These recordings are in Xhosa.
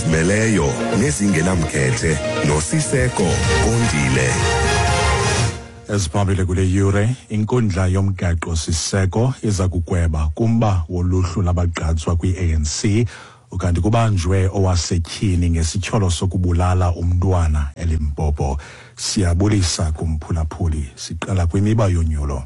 Ezizimeleyo nezingenamkhethe noSiseko Kondile. Eziphambili kule yure, inkundla yomgaqo siseko iza kugweba kumba woluhlu labagqatswa kwi-ANC, ukanti kubanjwe owasetyhini ngesityholo sokubulala umntwana eLimpopo. Siyabulisa kumphulaphuli. Siqala kwimiba yonyulo.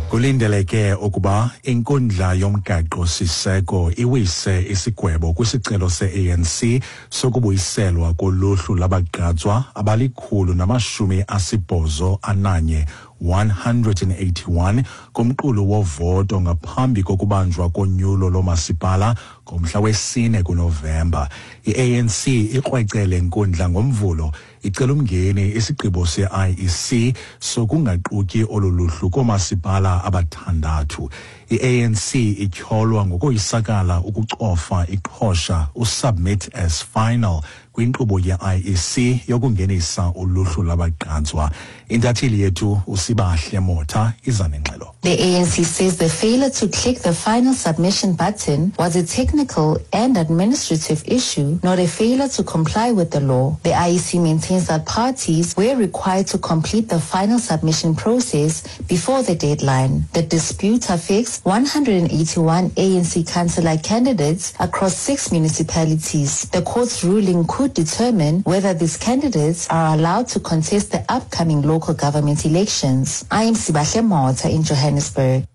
Kulindeleke ukuba inkundla yomgaqo siseko iwise isigwebo kwisicelo se-ANC sokubuyiselwa koluhlu labagqatswa abali-181 181 kumqulu wovoto ngaphambi kokubanjwa konyulo lomasipala ngomhla wesine kuNovemba. I-ANC ikrwece le nkundla ngoMvulo icela umngeni isigqibo se-IEC sokungaquki olu luhlu koomasipala abathandathu. I-ANC ityholwa ngokoyisakala ukucofa iqhosha usubmit as final kwinkqubo ye-IEC yokungenisa uluhlu lwabagqatswa. Intatheli yethu uSibahle Motha iza nengxelo. The ANC says the failure to click the final submission button was a technical and administrative issue, not a failure to comply with the law. The IEC maintains that parties were required to complete the final submission process before the deadline. The dispute affects 181 ANC councillor candidates across 6 municipalities. The court's ruling could determine whether these candidates are allowed to contest the upcoming local government elections. I am Sibahle Motha in Johannesburg.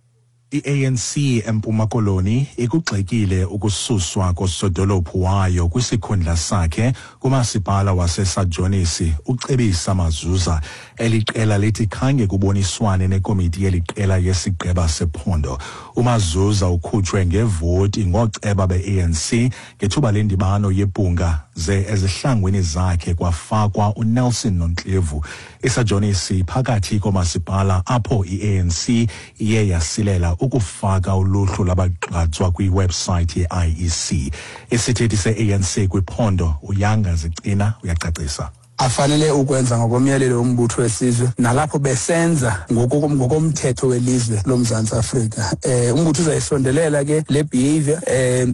I-ANC eMpuma Koloni ikugxekile ukususwa kosodolophu wayo kwisikhundla sakhe kumasipala waseSajonisi uCebisa Mazuza. Eli qela lithi khange kuboniswane nekomiti yeli qela yesigqeba sephondo. UMazuza ukhutshwe ngevoti ngooceba be-ANC ngethuba lendibano yebhunga, ze ezihlangwini zakhe kwafakwa uNelson Nontlevu. ISajonisi phakathi komasipala apho i-ANC iye yasilela ukufaka uluhlu labagqatswa kwiwebsayithi ye-IEC. Isithethi se-ANC kwiphondo uYanga Zicina uyacacisa. Afanele ukwenza ngokomyalelo wombutho wesizwe nalapho besenza ngokomthetho welizwe loMzantsi Afrika. Umbutho uzayisondelela ke le behavior,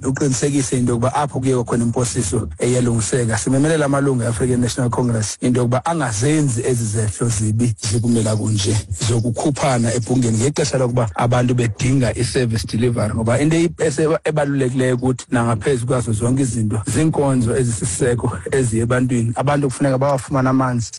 uqinisekise into yokuba apho kuye khona imposiso eyalungiseka. Simemelela amalungu e-African National Congress into yokuba angazenzi ezi zehlo zibi zikumela kunje zokukhuphana ebhungeni ngexesha lokuba abantu bedinga i-service delivery, ngoba into ebalulekileyo ukuthi nangaphezu kwazo zonke izinto ziinkonzo ezisiseko eziye ebantwini. Abantu kufuneka bawafumane amanzi.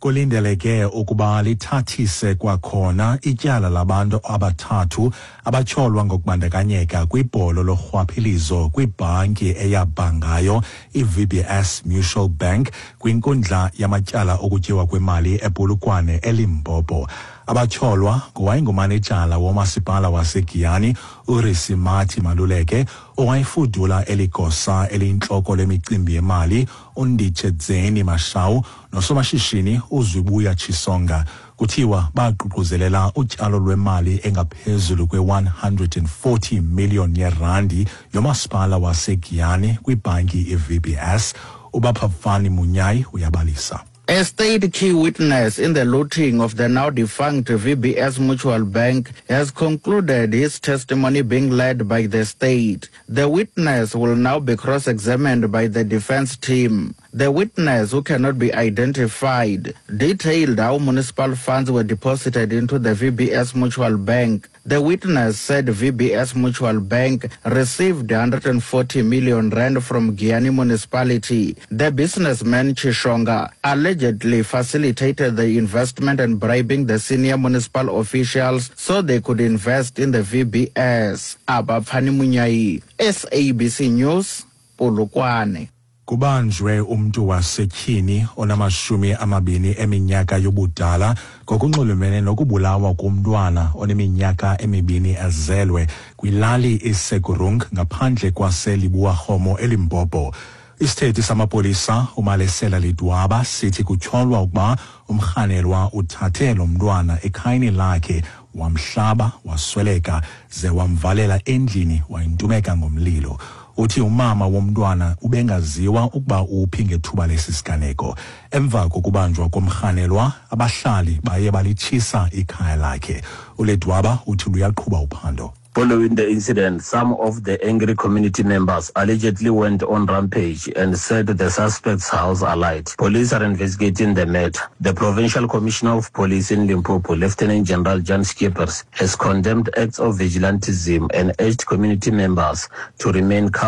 Kulindeleke ukuba lithathise kwakhona ityala labantu abathathu abatyholwa ngokubandakanyeka kwibholo lorhwaphilizo kwibhanki eyabhangayo i-VBS Mutual Bank kwinkundla yamatyala okutyiwa kwemali ePolokwane eLimpopo. Abatyholwa ngowayengumanejala womasipala waseGiyani uRisimati Maluleke, owayefudula eligosa eliyintloko lemicimbi yemali uNditshedzeni Mashau, nosomashishini uZwibuya Chisonga. Kuthiwa baququzelela utyalo lwemali engaphezulu kwe-140 million yerandi yomasipala waseGiyani kwibhanki i-VBS. UBaphafani Munyai uyabalisa. A state key witness in the looting of the now defunct VBS Mutual Bank has concluded his testimony being led by the state. The witness will now be cross-examined by the defense team. The witness, who cannot be identified, detailed how municipal funds were deposited into the VBS Mutual Bank. The witness said VBS Mutual Bank received 140 million rand from Giyani Municipality. The businessman Chishonga allegedly facilitated the investment and bribing the senior municipal officials so they could invest in the VBS. Abafani Munyai, SABC News, Polokwane. Kubanjwe umntu wasetyhini onama-20 eminyaka yobudala ngokunxulumene nokubulawa komntwana oneminyaka 2 ezelwe kwilali iSegurung ngaphandle kwaseLibuarhomo eLimpopo. Isithethi samapolisa uMalesela Lidwaba sithi kutyholwa ukuba umrhanelwa uthathe lo mntwana ekhayeni lakhe, wamhlaba wasweleka, ze wamvalela endlini wayintumeka ngomlilo. Uthi umama womntwana ubengaziwa ukuba uphi ngethuba lesi siganeko. Emva kokubanjwa komrhanelwa, abahlali baye balitshisa ikhaya lakhe. ULedwaba uthi luyaqhuba uphando. Following the incident, some of the angry community members allegedly went on rampage and set the suspect's house alight. Police are investigating the matter. The Provincial Commissioner of Police in Limpopo, Lieutenant General Jan Schippers, has condemned acts of vigilantism and urged community members to remain calm.